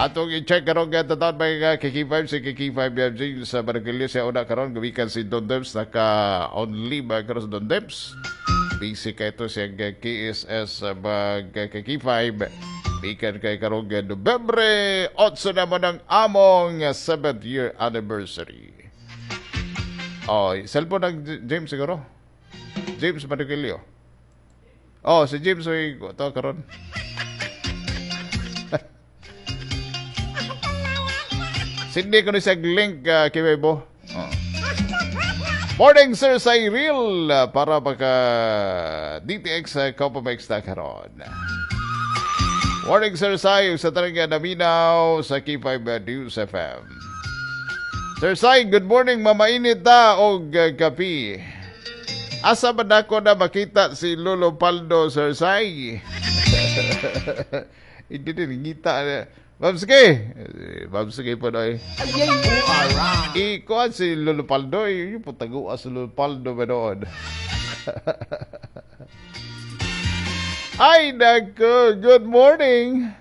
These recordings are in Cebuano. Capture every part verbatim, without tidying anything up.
Atong i-check karon nga taon may uh, K K five si K K five James sa Barangay sa una karon gumikan si Don Debs, naka on leave karon si Don Debs. Busy kay ito siyang uh, K S S uh, mag uh, K K five. Bikan kay karon nga Nobyembre eight naman ang among seventh year anniversary. Oh, cellphone ng James siguro. James Marikilio. Oh, si James oy to karon. Sindi ko ni sa link uh, kay Bebo. Oh. Morning, Sir Cyril, uh, para maka D T X uh, Copamex na karon. Morning, Sir Sai, sa tarang naminaw sa K five uh, News F M. Sir Sai, good morning, mamainit ta og uh, kapi. Asa man nako na makita si Lolo Paldo, Sir Sai? Hindi din ngita. Babsky! Babsky po na eh. Ikuan si Lolo Paldo. Yung po taguan si Lolo Paldo ba doon? Ay, nako! Good morning!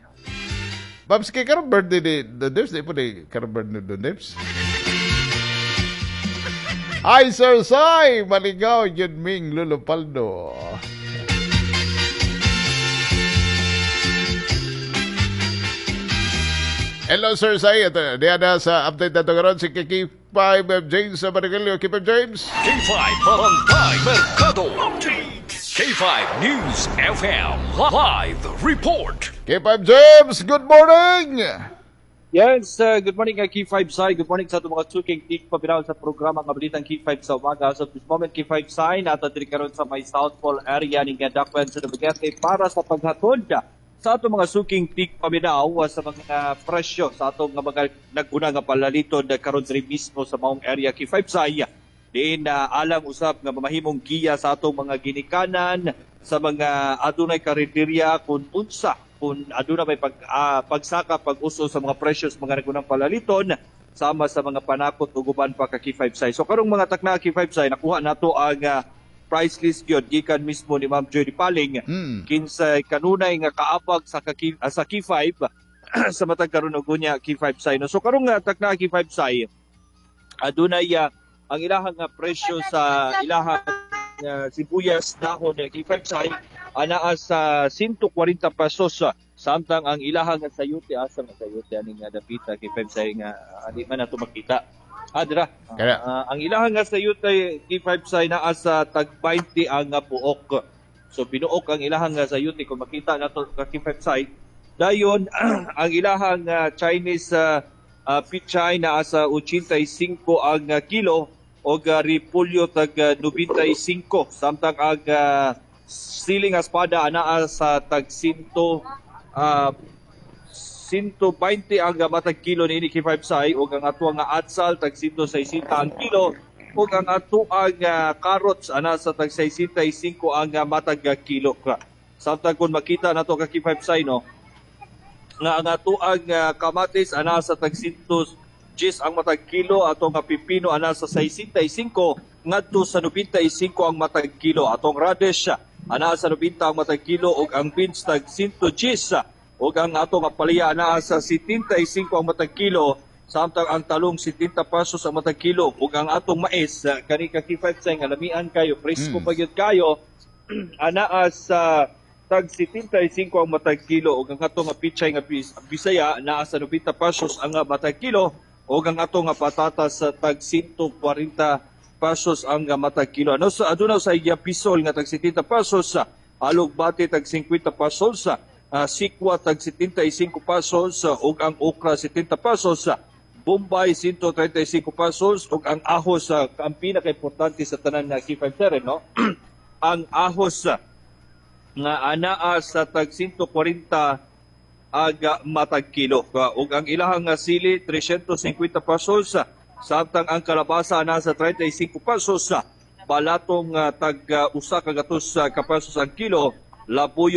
Babsky, karon birthday ni Don Dips? Di po ni karon birthday ni Don Dips? Ay, Sir Sai! Maligaw yun ming Lolo Paldo. Hello, Sir Sai. Ito, diyan na sa update na ito karon si K K five James sa Barangay. K five James. K five Barangay Mercado. K five News F M Live Report. K five James, good morning! Yes, uh, good morning uh, K five Sai. Good morning sa atong mga suking tik pabiraw sa programa nga Balitang K five sa umaga. So this moment, K five Sai, nata diri karon sa may South Pole area ning Dakwen sa Dumaguete para sa paghatod sa atong mga suking tik paminaw sa mga presyo sa atong mga naguna nga palaliton karon diri mismo sa maong area, K five Sai. Diin uh, alang usab nga mamahimong giya sa atong mga ginikanan sa mga adunay karinderya kung unsa kung aduna may pag, uh, pagsaka pag-uso sa mga presyo sa mga nagunang palaliton sama sa mga panakot ug uban pa ka K five Sai. So karong mga takna, K five Sai, nakuha nato ang uh, price list gyud gikan mismo ni Ma'am Judy Paling mm. kinsay kanunay nga kaapag sa ka, uh, sa K five sa matag karon og unya, K five Sai, no. So karong uh, takna, K five Sai, adunay uh, ang ilahang uh, presyo sa ilahang uh, sibuyas dahon, uh, K five Sai, anaa sa one forty pesos, samtang ang ilahang sayute, asa nga sayute ani nga dapita, K five Sai, nga uh, di man nato makita? Ah, dira. Uh, ang ilahang nga sayute, K five Sai, naa sa tag twenty ang uh, buok. So binuok ang ilahang nga sayute kung makita nato ka K five Sai. Dayon ang ilahang uh, Chinese uh, uh, pichay naa sa eighty-five ang uh, kilo og uh, repolyo tag uh, ninety-five, samtang ang uh, siling espada anaa sa tag one uh, one twenty ang matag kilo niini, K five Sai, ug ang ato nga atsal tag one sixty ang kilo ug ang ato ang uh, carrots ana sa tag sixty-five ang uh, matag uh, kilo. Samtang kung makita nato ka K five Sai, no, nga ang ato ang uh, kamatis ana sa tag one ten ang matag kilo, atong nga pipino ana sa sixty-five ngadto sa ninety-five ang matag kilo, atong radish ana sa ninety ang matag kilo ug ang beans tag one ten ug ang atong palaya ana sa seventy-five ang matag kilo, samtang ang talong seventy pesos ang matag kilo ug ang atong mais kani ka K five Sai nga lamian kayo, presko mm. pa gyud kayo, anaa sa tag seventy-five ang matag kilo ug ang atong pichay nga Bisaya naa sa ninety pesos ang matag kilo ug ang atong patatas sa tag one forty pesos ang matag kilo. Ano sa aduna sa iya pisol nga tag seventy pesos, alugbati tag fifty pesos, Uh, sikwa tag seventy-five pesos uh, ug ang okra seventy pesos, uh, Bombay one thirty-five pesos ug ang ahos, uh, ang pinaka-importante sa tanan na K five Sir, no, ang ahos uh, nga anaa sa tag one forty ag uh, matag kilo uh, ug ang ilahang uh, sili three fifty pesos, uh, samtang ang kalabasa ana sa thirty-five pesos, uh, balatong uh, tag uh, usa ka gatos uh, ka pesos ang kilo, labuyo